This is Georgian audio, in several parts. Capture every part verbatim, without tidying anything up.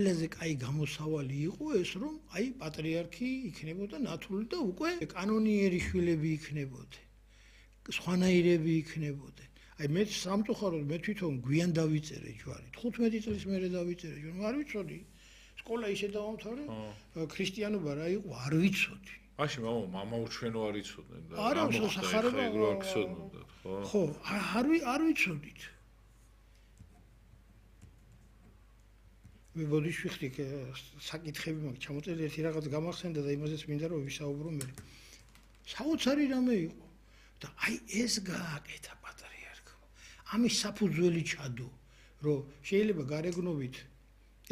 ყველაზე კაი გამოსავალი იყო ეს, რომ აი პატრიარქი იქნებოდა ნათლული და უკვე კანონიერი შვილები იქნებოდნენ. სხვანაირები იქნებოდნენ. აი მე სამწუხაროდ მე თვითონ გვიან დავიწერე ჯვარი. თხუთმეტი წლის მერე დავიწერე ჯვარი. არ ვიცოდი. სკოლა ისე დავამთავრე, ქრისტიანობა რა იყო, არ ვიცოდი. მაშინ მამა მამა უჩვენო არ იცოდნენ და არა, სახარება არ იცოდნენ, ხო? ხო, არ არ ვიცოდით. მე ბოდიში ვიხდი საკითხები მაქვს ჩამოწერილი ერთი რაღაც გამახსენდა და იმაზეც მინდა რომ ვისაუბრო მე. საოცარი რამე იყო და აი ეს გააკეთა პატრიარქმა. ამის საფუძველი ჩადო, რომ შეიძლება გარეგნობით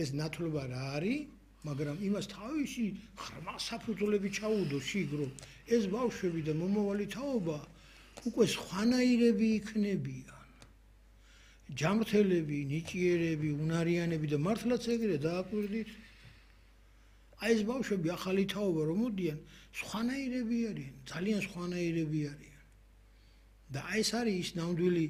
ეს ნათლობა რა არის, მაგრამ იმას თავისი ხრმა საფუძვლები ჩაუდო შიგ, რომ ეს ბავშვები და მომავალი თაობა უკვე სხვანაირები იქნებიან. ჯამრთელები, ნიჭიერები, უნარიანები და მართლაც ეგრე დააკვირდით. აი ეს ბავშვები ახალი თაობა რომ მოდიან, სხვანაირები არიან, ძალიან სხვანაირები არიან. და აი ეს არის ის ნამდვილი,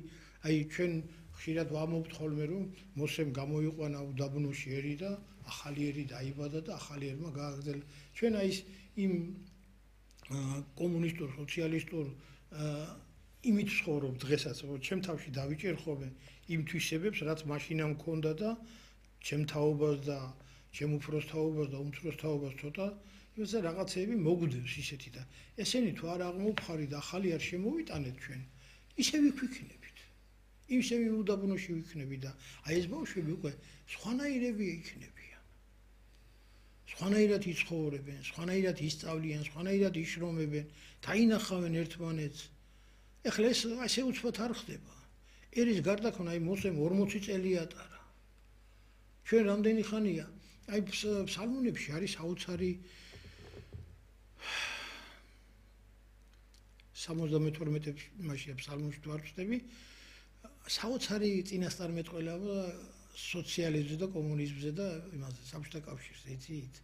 აი ჩვენ ხშირად ვამბობთ ხოლმე რომ მოსემ გამოიყვანა უდაბნოში ერი და ახალი ერი დაიბადა და ახალი ერმა გააგრძელა. ჩვენ აი ის იმ კომუნისტურ, სოციალისტურ იმით ცხოვრობ დღესაც, რომ ჩემ თავში დავიჭერ ხოლმე იმ თვისებებს, რაც მაშინა მქონდა და ჩემ თაობას და ჩემ უფროს თაობას და უმცროს თაობას ცოტა იმაზე რაღაცეები მოგდევს ისეთი და ესენი თუ არ აღმოფხარი და ახალი არ შემოვიტანეთ ჩვენ, ისე ვიქვიქნებით. ისე უდაბნოში ვიქნები და აი ეს ბავშვები უკვე სხვანაირები იქნებიან. სხვანაირად იცხოვრებენ, სხვანაირად ისწავლიან, სხვანაირად იშრომებენ, დაინახავენ ერთმანეთს. ეხლა ეს ასე უცბად არ ხდება. ერის გარდაქმნა აი მოსემ ორმოცი წელი ატარა. ჩვენ რამდენი ხანია? აი ფსალმუნებში არის საოცარი სამოცდამეთორმეტე მაშინ ფსალმუნში თუ არ ვწდები, საოცარი წინასწარმეტყველება სოციალიზმზე და კომუნიზმზე და იმაზე საბჭოთა კავშირზე, იცით?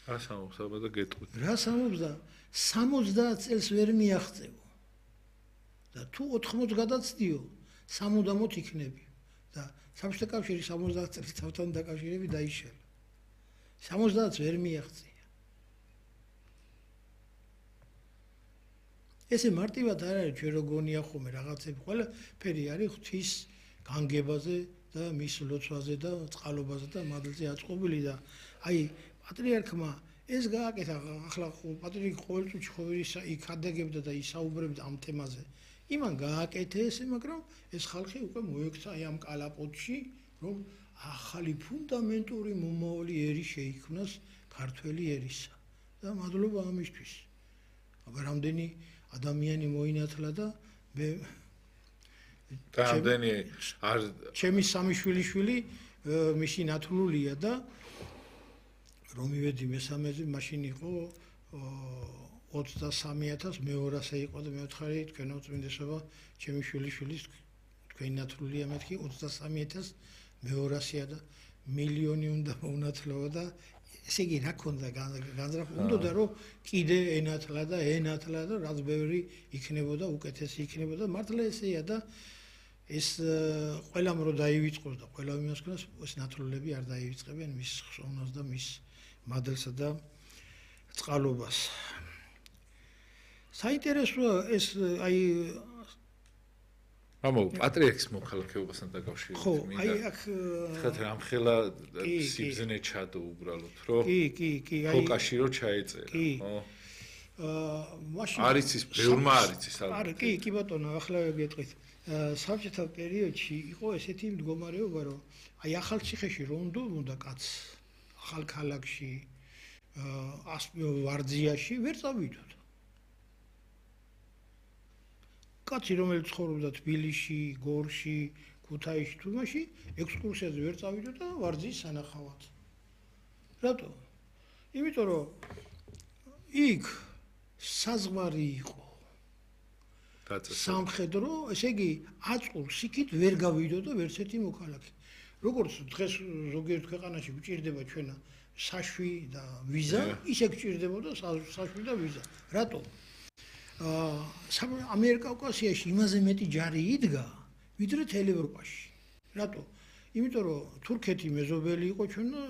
რა სამობს და გეტყვით. რა სამობს და სამოცდაათ წელს ვერ მიაღწევო. და თუ ოთხმოც გადაცდიო, სამუდამოდ იქნები და საბჭოთა კავშირი სამოცდაათ წელს თავთან დაკავშირები დაიშალა. სამოცდაათს ვერ მიაღწია. ესე მარტივად არ არის ჩვენ რო გონია ხოლმე რაღაცები, ყველაფერი არის ღვთის განგებაზე და მის ლოცვაზე და წყალობაზე და მადლზე აწყობილი და აი პატრიარქმა ეს გააკეთა, ახლა პატრიარქი ყოველ წუთში ხო იქ ადაგებდა და ისაუბრებდა ამ თემაზე. იმან გააკეთა ესე, მაგრამ ეს ხალხი უკვე მოექცა აი ამ კალაპოტში, რომ ახალი ფუნდამენტური მომავალი ერი შეიქმნას ქართველი ერისა. და მადლობა ამისთვის. აბა რამდენი ადამიანი მოინათლა და მე რამდენი არ ჩემი სამი შვილიშვილი მისი ნათლულია და რომ მივედი მესამეზე მაშინ იყო ოცდასამი ათასი მეორასე იყო და მეოთხარი თქვენო წმინდესობა ჩემი შვილიშვილის თქვენი ნათლულია მეთქი ოცდასამი ათასი მეორასია და მილიონი უნდა მოუნათლოა და ესე იგი რა ქონდა განზრახვა უნდა რომ კიდე ენათლა და ენათლა და რაც ბევრი იქნებოდა უკეთესი იქნებოდა მართლა ესეა და ეს ყველამ რო დაივიწყოს და ყველა იმას ქონას ეს ნათლულები არ დაივიწყებენ მის ხსოვნას და მის მადლსა და წყალობას საინტერესოა ეს აი ამო პატრიარქის მოქალაქეობასთან დაკავშირებით ხო აი აქ ხეთ რამხელა სიბზნე ჩადო უბრალოდ რომ კი კი კი აი კავშირო ჩაეწერა ხო აა მაშინ არის ის ბევრმა არის ის არა კი კი ბატონო ახლა გეტყვით საბჭოთა პერიოდში იყო ესეთი მდგომარეობა რომ აი ახალციხეში რონდო უნდა კაც ახალ ქალაქში აა ვარძიაში ვერ წავიდოდ კაცი რომელიც ცხოვრობდა თბილისში, გორში, ქუთაისში, თუმაში ექსკურსიაზე ვერ წავიდა და ვარძიის სანახავად. რატო? იმიტომ რომ იქ საზღვარი იყო. სამხედრო, ესე იგი, აწყურს იქით ვერ გავიდო და ვერც ერთი მოქალაქე. როგორც დღეს ზოგიერთ ქვეყანაში გვჭირდება ჩვენა საშვი და ვიზა, ისე გვჭირდებოდა საშვი და ვიზა. რატო? ამერიკა კავკასიაში იმაზე მეტი ჯარი იდგა, ვიდრე თელ ევროპაში. რატო? იმიტომ რომ თურქეთი მეზობელი იყო ჩვენ და